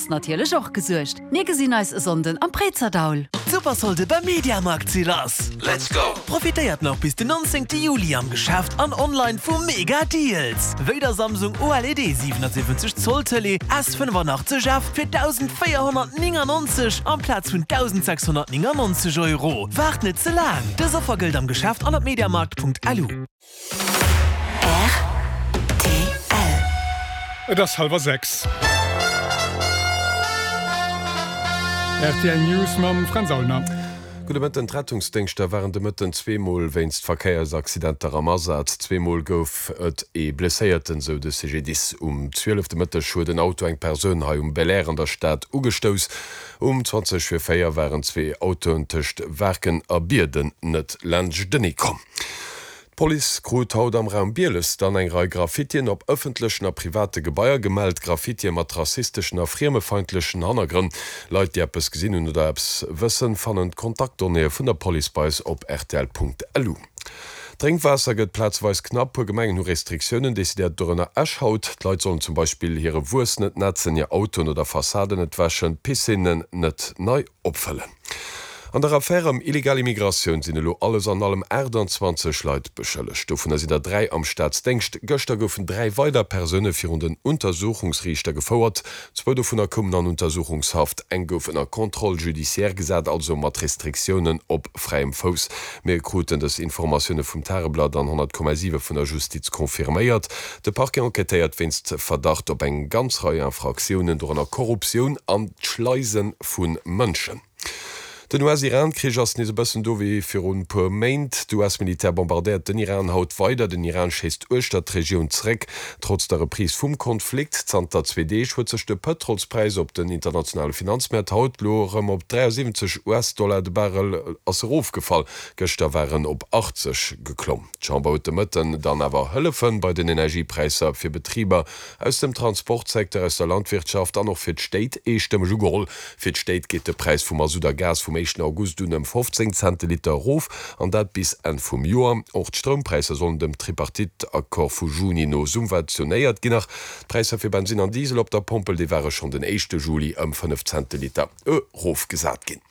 ass natierlech och gesuergt. Mir gesinn eis e Sonnden am Préizerdaul. D'Supersolde beim Mediamarkt si lass! Let's go! Profitéiert nach bis den 19 Juli am Geschäft an online vu mega Deals! Wéi der Samsung OLED 77 Zoll Tëlee S85F fir 1.499 amplaz vun 1.699 Euro. Waart net ze laang! Dës Offer gëllt am Geschäft an op mediamarkt.lu. Rtl. Et ass hallwer 6. Rtl News mam Fränz Aulner. Gudde Mëtten. D'Rettungsdéngschter waren de Mëtten zweemol wéinst Verkéiersaccidenter am Asaz. Zweemol gouf et ee Blesséierten, sou de CGDIS. Um 12 de Mëtteg huet en Auto eng Persoun hei um Belair an der Stad ugestouss. Um 20 vir 4 waren zwee Autoen tëscht Waarken a Bierden net laanschtenee komm. D'Police krut haut am Raum Bieles dann eng Rei Graffitien op ëffentlechen a private Gebaier gemellt. Graffitie mat rassisteschen a friemefeindlechen Hannergrënn. Leit, déi eppes gesinn hunn oder eppes wëssen, fannen d'Kontaktdonnéeë vun der Police bei eis op rtl.lu. D'Drénkwaasser gëtt plazeweis knapp. Puer Gemengen hu Restriktiounen decidéiert, dorënner Esch haut. D'Leit sollen zum Beispill hire Wuess net netzen, hir Autoen oder Fassaden net wäschen, d'Piscinnen net nei opfëllen. An der Affär ëm illegal Immigratioun sinn elo alles an allem 28 Leit beschëllegt. Dovunner sinn der 3 am Staatsdéngscht. Gëschter goufen 3 weider Persoune virun den Untersuchungsriichter gefouert. Zwou dovunner koumen an Untersuchungshaft, eng gouf ënner Contrôle judiciaire gesat, also mat Restriktiounen op fräiem Fouss. Mir kruten dës Informatioune vum Tageblatt an 100,7 vun der Justiz confirméiert. De Parquet enquêtéiert wéinst Verdacht op eng ganz Rei Infraktiounen, dorënner Korruptioun an d'Schleise vu Mënschen. Den US-Iran-Krich ass nees e bëssen do wéi virun puer Méint. D'US-Militär bombardéiert den Iran haut weider. Den Iran schéisst uechter d'Regioun zeréck. Trotz der Reprise vum Konflikt zanter zwee Deeg huet sech de Pëtrolspräis op den internationale Finanzmäert haut lo erëm op 73 US-Dollar de Barrel ass erofgefall. Gëschter war en op 80 geklomm. D'Chamber huet de Mëtten dann awer Hëllefe bei den Energiepräisser fir Betriber aus dem Transportsecteur, aus der Landwirtschaft an och fir d'Stéit eestëmmeg ugeholl. Fir d'Stéit geet de Präis vu Masutt a Gas vum éischten August un ëm 15 Cent de Liter erof, an dat bis Enn vum Joer. Och d'Stroumpräisser sollen dem Tripartite-Accord vu Juni no subventionéiert ginn. Nach d'Präisser fir Bensinn an Diesel op der Pompel, déi ware schonn den éischte Juli ëm 5 Cent de Liter erofgesat ginn.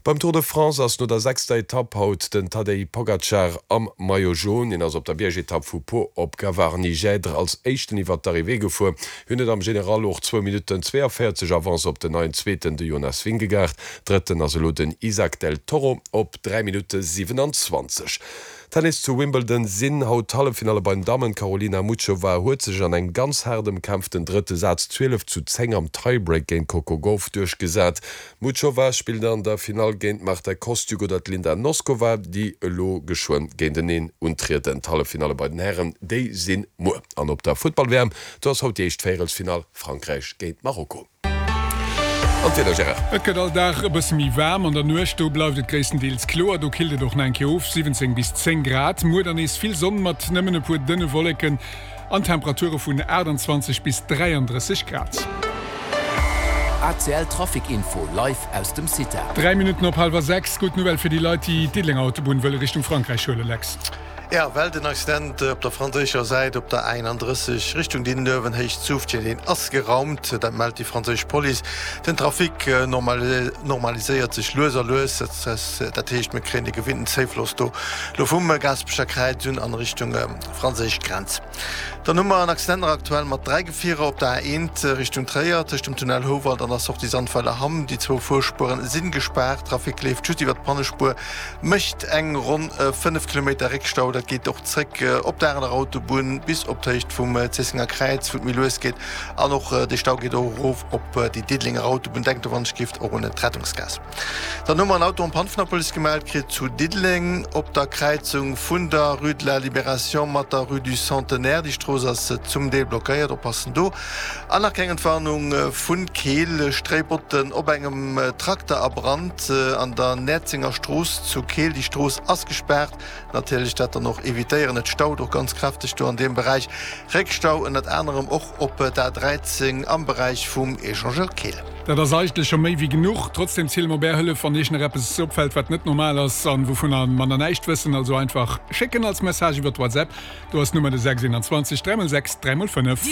Beim Tour de France ass no der sechster Etapp haut den Tadej Pogacar am Maillot Jaune. Hien ass op der Biergetapp vu Pau op Gavarnie-Gèdre als éischten iwwer d'Arrivée gefuer. Hien huet am General och zwou Minutten 42 Avance op den neien Zweeten, de Jonas Vingegaard. Drëtten ass elo den Isaac del Toro op 3 Minutte 27. Tennis Zu Wimbledon sinn haut d'Halleffinalle bei den Dammen. D'Karolina Muchova huet sech an engem ganz haart ëmkämpften drëtte Saz 12 zu 10 am Tiebreak géint d'Coco Gauff duerchgesat. D'Muchova spillt an der Finall géint d'Marta Kostyuk oder d'Linda Noskova, déi elo geschwënn géinteneen untrieden. D'Halleffinalle bei den Hären, déi si muer. An op der Futtball-WM, do ass haut déi éischt Véierelsfinall, Frankräich géint Marokko. An d'Wieder, Gérard? Et gëtt all Dag e bësse méi waarm. An der Nuecht do bleift et gréisstendeels kloer, do killt et och nach eng Kéier of, 17 bis 10 Grad. Muer dann nees vill Sonn mat nëmmen e puer dënne Wolleken. An Temperature vun 28 bis 33 Grad. ACL Trafic Info live aus dem CITA. 3 Minutten op hallwer 6. Gutt Nouvelle fir déi Leit, déi d'Diddelenger Autobunn wëlle Richtung Frankräich huelen, Lex. Jo, well den Accident op der franséischer Säit op der A31 Richtung Diddenuewen, Héicht Zufftchen, deen ass geraumt. Dat mellt déi franséisch Police. Den Trafic normaliséiert sech lues a lues. Dat heescht, mir kréien de gewinnten Zéifloss do elo vum Gaasperecher Kräiz un an Richtung franséisch Grenz. Dann hu mer en Accident nach aktuell mat 3 Gefierer op der A1 Richtung Tréier, tëscht dem Tunnel Houwald an der Sortie Sandweiler Hamm. Déi zwou Fuerspueren si gespaart, Trafic leeft just iwwer d'Pannespuer, mécht eng ronn 5 Kilometer Réckstau. Dat geet och zréck op der anerer Autobunn bis op d'Héicht vum Zéissenger Kräiz, wou et méi lues geet. An och de Stau geet och erof op déi Diddelenger Autobunn. Denkt do wann ech gift och un d'Rettungsgaass. Dann hu mer en Auto en panne vun der Police gemellt kritt zu Diddeleng op der Kräizung vun der Rue de la Libération mat der Rue du Centenaire. Déi Strooss ass zum Deel blockéiert, oppassen do. An nach keng Entwarnung vu Keel, Stréibotten op engem Trakter a Brand an der Näerzenger Strooss zu Keel. Déi Strooss ass gespaart. Natierlech dat dann och evitéieren. Et staut och ganz kräfteg do an deem Beräich. Réckstau ënnert anerem och op der A 13 am Beräich vum Echangeur Keel. Dat ass eigentlech scho méi wéi genuch. Trotzdem ziele mer op Är Hëllef, wann Iech nach eppes opfält, wat net normal ass an wouvunner mer nach näischt wëssen. Also einfach schécken als Message iwwert WhatsApp. Do ass d'Nummer de 6 21 3 x 6 3 x 5.